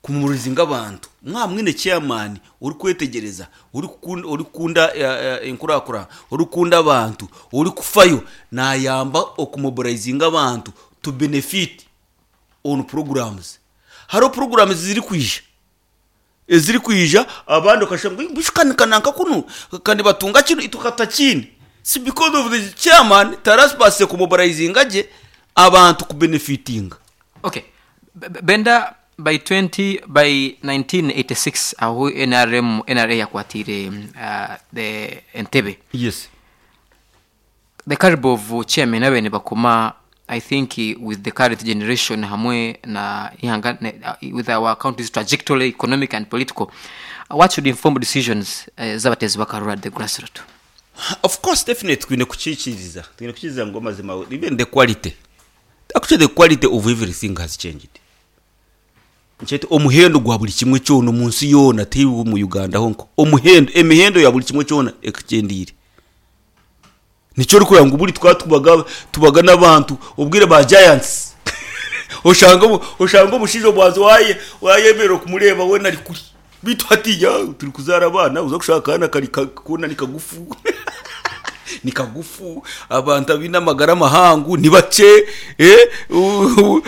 kumurizinga abantu. Mwa mwine chairman uri kwetegereza, uri kukunda, uri kukunda eh, eh, enkurakura, uri kukunda abantu, uri kufayo, nayamba okumobilizinga abantu to benefit on programs. Hariho programs ziri kwija, eziri kwija, abandi okashanga bishikanikananka kuno kandi batunga kino itukata kini. Si because of the chairman tarasipase kumobilizinga gye abantu kubenefitinga. Okay. B- B- benda by twenty by nineteen eighty-six aho N R M N R A yakwatire uh, the Entebbe, yes the caliber of chairman abene bakoma, I think, eh, with the current generation hamwe na ihanga ne- uh, with our country's trajectory, economic and political, uh, what should inform decisions uh, z'abatezi bakarura at the grassroots? Of course, definitely twine kukyikiriza, twine kukiriza ngu amazima even the quality, actually the quality of everything has changed. Nkyete omuhendo gwa buli kimwe kyona omu nsi yoona, ti mu Uganda honko, omuhendo, emihendo ya buli kimwe kyona ekikyendiire. Nikyo orikureba ngu buri twaba tubaga tubaga n'abantu obwire ba giants, oshanga omu- oshanga omushaija obwanzi waye wayemerera kumureba wena ari kuri bitu. Hatiya turi kuzaara abaana, uza kushaka akaana kari ka- kona ni kagufu, ni kagufu, abantu abine amagara mahangu ni bake, eh, u-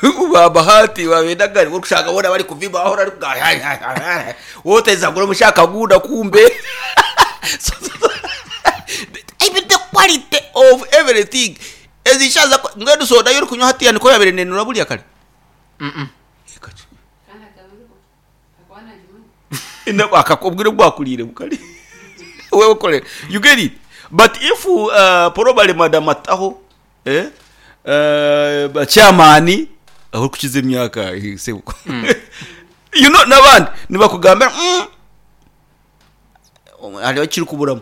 u- babahati babendagari kushaka bona bari kuvimba aho ari woteza ngo mushaka gunda kumbe. So- so- even the quality of everything ezishaza mbwenu soda yori kunywa hatiya niko yabere nenura buriya kare. Ina- akakubwira bwakurire bukari wewe kore, you get it? But if uh, probably madam ataho, eh uh, chairman aho kukiza imyaka, eh, sebuko, you know, n'abandi nibakugambira mm, hariho kiri kuburamo,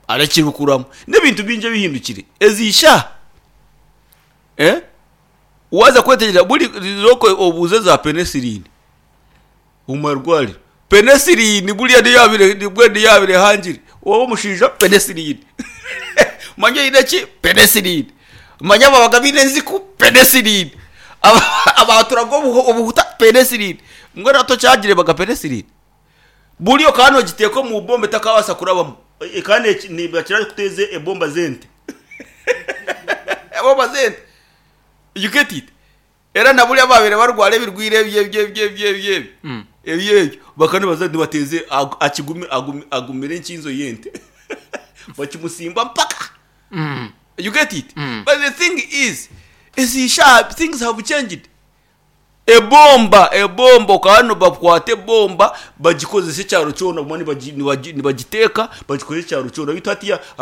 hariho kiri kukuramo n'ibintu binje bihindukire ezisha, eh waza kwetegereza buri zoko obuze za penicillin umarwari, penicillin buriya niyabire nibwo niyabire hangire wowe umushinja penicillin, manye ineki penicillin, manye ababaga bine nziku penicillin, Aba- abaturaga obuhu- obuhuta penicillin, mbwe nato cyagire baga penicillin buriyo kano giteko mu bombe takabasa kurabamo. E, kandi eki- ni bakira kuteze ebomba zente, ebomba zente, you get it? Era na buriya babire barwara ebirwire bye bye bye bye bye. Mm. Ebyo ebyo bakaba nibaza nibateeze ag- akigumi- agumi- agumire enkinzo y'ente bakimusimba mpaka. You get it? But the thing is, ezisha things have changed. Ebomba, ebomba okaba bakwata ebomba bagikozesa ekyaro kyona, bamwe nibagi- nibagi- nibagiteeka bagikozesa ekyaro kyona, bitu hatiya.